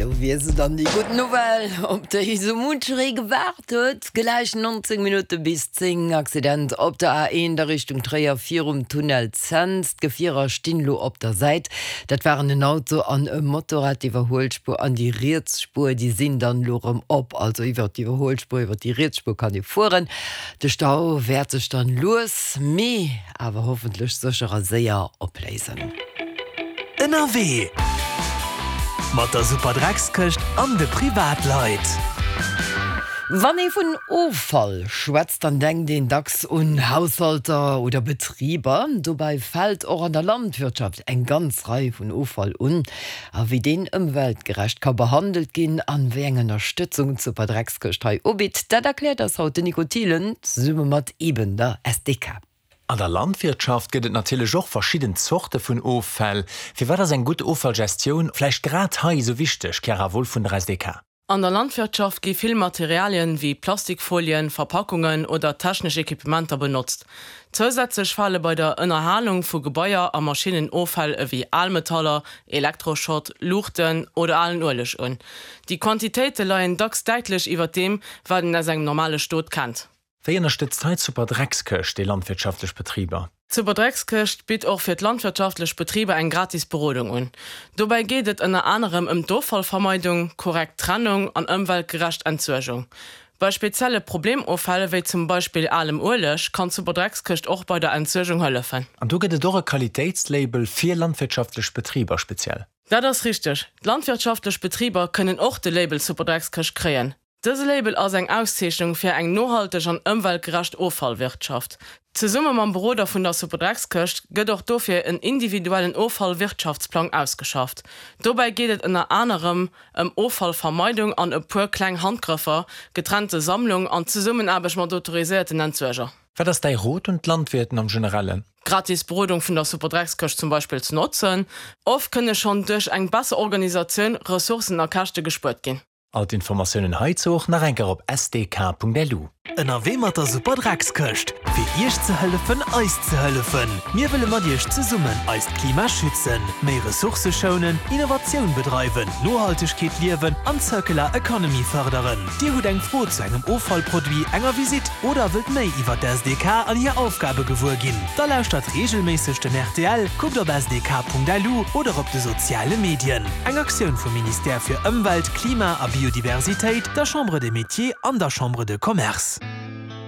Do wier se dann, déi gutt Nouvelle, op déi esou muncheree gewaart huet. Gläich 19 Minutte bis 10, Accident op der A1 a Richtung Tréier virum Tunnel Cents. D'Gefierer stinn elo op der Säit. Dat waren en Auto an e Motorrad. D'Iwwerhuelspuer an déi riets Spuer, déi sinn dann elo erëm op. Also iwwer d'Iwwerhuelspuer, iwwer déi riets Spuer kann ee fueren. De Stau wäert sech dann lues, mee awer hoffentlech sécher a séier opléisen. Ënnerwee mat der Superdreckskëscht an de Privatleit. Wann ee vun Offall schwätzt, dann denkt een dacks un Haushalter oder Betriber. Dobäi fält och an der Landwirtschaft eng ganz Rei vun Offall un. A wéi deen ëmweltgerecht ka behandelt ginn an wéi eng Ënnerstëtzung d'Superdreckskëscht hei ubitt, dat erkläert eis haut den Nico Thielen zesumme mat eben der SDK. An der Landwirtschaft gëtt et natierlech och verschidden Zorte vun Offäll. Firwat ass eng gutt Offallgestioun vläicht grad hei esou wichteg, Chiara Wolff vun der SDK? An der Landwirtschaft gi vill Materialien wéi Plastikfolien, Verpackungen oder technesch Equipementer benotzt. Zousätzlech fale bei der Ënnerhalung vu Gebaier a Maschinnen Offäll ewéi Almetaller, Elektroschrott, Luuchten oder alen Ueleg un. Déi Quantitéite leien dacks däitlech iwwer deem, wat een aus engem normale Stot kennt. Wéi ënnerstëtzt hei d'Superdreckskëscht déi landwirtschaftlech Betriber? D'Superdreckskëscht bitt och fir d'landwirtschaftlech Betriber eng gratis Berodung un. Dobäi geet et ënner anerem ëm d'Offallvermeidung, korrekt Trennung an ëmweltgerecht Entsuergung. Bei spezielle Problemoffäll, wéi zum Beispill alem Ueleg, kann d'Superdreckskëscht och bei der Entsuergung hëllefen. An do gëtt et och e Qualitéitslabel fir landwirtschaftlech Betriber speziell? Dat ass richteg. D'landwirtschaftlech Betriber kënnen och de Label Superdreckskëscht kréien. Dëse Label ass eng Auszeechnung fir eng nohalteg an ëmweltgerecht Offallwirtschaft. Zesumme mam Beroder vun der Superdreckskëscht gëtt och dofir en individuellen Offallwirtschaftsplang ausgeschafft. Dobäi geet et ënner anerem ëm Offallvermeidung an e puer kleng Handgrëffer, getrennte Sammlung an Zesummenaarbecht mat autoriséierten Entsuerger. Wat ass däi Rot un d'Landwirten am Generellen? D'gratis Berodung vun der Superdreckskëscht zum Beispill ze notzen. Oft kënne schonn duerch eng besser Organisatioun Ressourcen a Käschte gespuert ginn. All d'Informatiounen heizou och nach eng Kéier op sdk.lu. Ënnerwee mat der Super Dreckskëscht, fir Iech ze hëllefen, eis ze hëllefen. Mir wëlle mat Iech zesummen eist Klima schützen, méi Ressourcë schounen, Innovatioun bedreiwen, Nohaltegkeet liewen an Circular Economy fërderen. Dir hutt eng Fro zu engem Offallproduit, enger Visitt oder wëllt méi iwwer d'SDK an hir Aufgabe gewuer ginn? Da lauschtert reegelméisseg den rtl, kuckt op sdk.lu oder op de soziale Medien. Eng Aktioun vum Ministère fir Ëmwelt, Klima a Biodiversitéit, der Chambre des Métiers an der Chambre de Commerce.